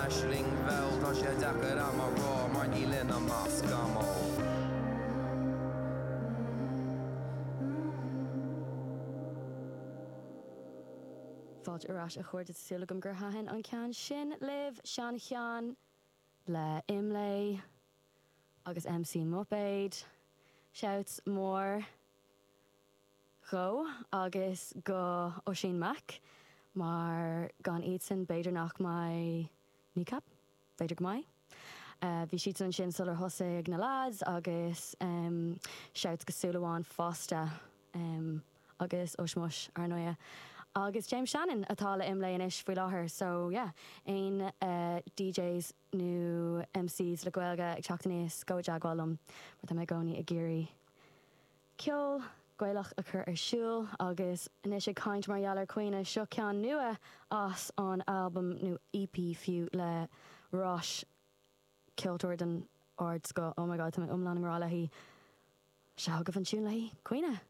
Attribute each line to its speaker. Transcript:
Speaker 1: aisling, bhuel tá sé deacair a'm a rá mar níl ionam ach scamall.
Speaker 2: Fáilte ar ais a chairde tá súil agam gur thaitin an ceann sin libh, seancheann le Imlé agus MC Muipéad. Shouts mór dhó agus go Oisín Mac mar gan iadsan b'fhéidir nach mbeidh Kneecap? B'fhéidir go mbeidh. Bhí siadsan ansin sular thosaigh na lads agus shouts go Súil Amháin fosta agus Ush Mush ar ndóighe. Agus James Shannon atá le Imlé anois faoi láthair so yeah aon DJs nó MCs le Gaeilge ag teacht aníos gabh i dteagmháil liom mar tá mé i gcónaí ag iarraidh ceol Gaelach a chur ar siúl agus anois ag caint mar gheall ar Caoineadh, seo ceann nua as an albam, nó EP fiú, le Rois, ceoltóir den ardscoth, oh my god tá mé iomlán i ngrá léi, seo chugaibh an tiún léi, Caoineadh!